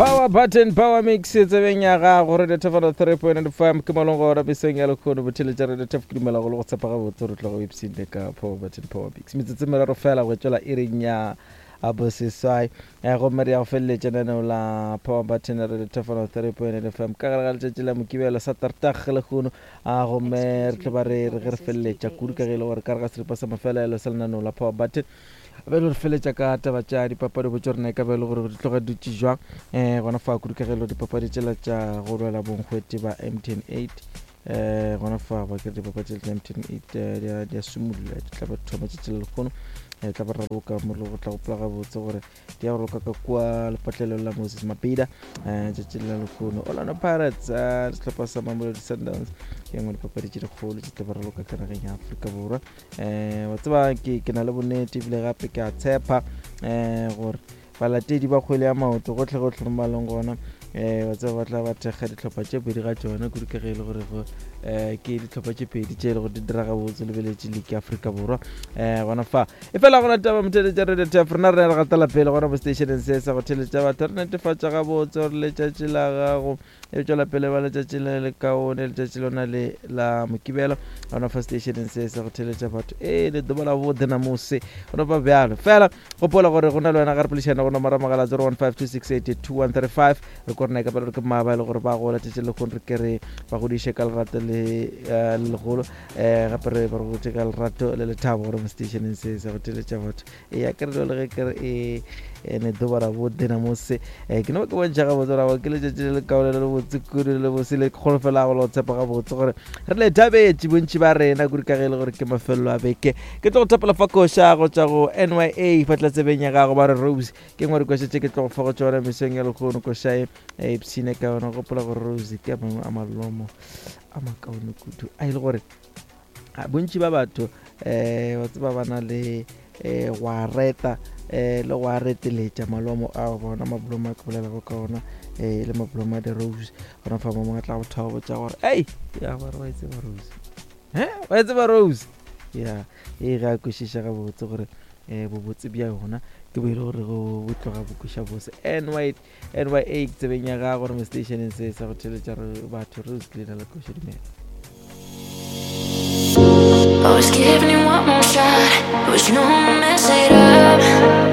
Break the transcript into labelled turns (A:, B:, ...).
A: Power button power mix tsebeng ya gago radio thefano 3.5 ke molong gona mesong ya lekgono botheletša radio thef ke dumela go le go tshepa gabotse re tloga o ipsinde ka power button power mix metsotso e meraro fela go tšwela iring ya boseswai eh, gomme re ya go feleletša lenaneo la power button radio thefano 3.5 fm ka gare ga letšatši la mokibelo sa tartag lekgono a gomme re tlo ba re re ge re feleletša kudu ka ge e le gore ka re ga seripa sa mafelelo sa lenaneo la power button be le re feletša ka taba tša dipapadi botse rena e ka be e le gore di tloga dutše jwang um gona fa kudu ka ge e le dipapadi tšela tša go lwela bonkgwete ba mtn 8 um gona fa ba kere dipapadi tšela tša mtn 8 di a simolola di tla ba thoma tšatši la lekgono um tla ba raloka mo go tla gopola gabotse gore di ya go roka ka kua lepatlelong la Moses Mabhida eh, tšatši la lehono. Orlando Pirates eh, sehlopha sa Mamelodi Sundowns ke nngwe dipapadi tše dikgolo tše tla ba raloka ka nageng ya Afrika Borwa. Eh, wa tseba ke ke na le bonnete ebile gape ke a tshepa eh, gore balatedi ba kgwele ya maoto gotlhe gotlhe mo ba leng gona um wa tseba ba tla ba thekga dihlopha tše pedi ga tšona kudu ka ge e le gore go um ke dihlopha tše pedi tše e le gore di dira gabotse lebeletše league ya Afrika Borwa um gona fa E fela gona taba motheletša radio tef rena re re gatela pele gona mo stationeng se sa go theletša batho re netefatša gabotse gore letšatši la gago e tšwela pele ba letšatši le le kaone letšatši lona le la mokibelo gona fa stationeng se sa go theletša batho ee le doba la bothe namose gona fa bjalo fela gopola gore go na le wena ga re polešana go nomora mogala 0152682135 re ko rena e ka ba re ke mmaba e le gore ba gola tšatši le kgone re ke re ba godiše ka lerato le eh, le legolo um gape re ba re botse ka lerato le lethabo gore mo stationeng se sa go theletša batho e ya kere le ge kere e ene ḓuvha la vhuḓi namusi um ke no ke bontšha gabotse gore ke letšatši le lekaone le lebotse kudu le lebose le kgolofelago le go tshepa gabotse gore re le thabetše bontši ba rena kudu ka ge e le gore ke mafelelo a beke ke tlo go thapela fa koša go tšwa go nya fa tlatsebeng ya gago ba re rose ke ngwe dikoša tše ke tlo go fa go tšona mesong ya lekgono koša e e ipshine ka yona gopola gore rose ke a mangwe a malomo a makaone kudu a e le gore bontši ba batho um wa tseba ba na le um go a reta um le go a reteletša malomo ao bona mablomo a ke bolelago ka ona um le mablomo a di-rose gona fa mongwe a tla go thaba botša gore ei ya bare wa e tseba rose he wa e tseba rose ya ee ge a kwešiša gabotse gore um bobotse bja yona ke bo e le gore bo tloga bo kweša bose ny NYA ke tsebeng ya gago re mo stationeng se sa go theletša re batho re ke leina la koša dumela.
B: I was giving you one more shot, but you know I mess it up.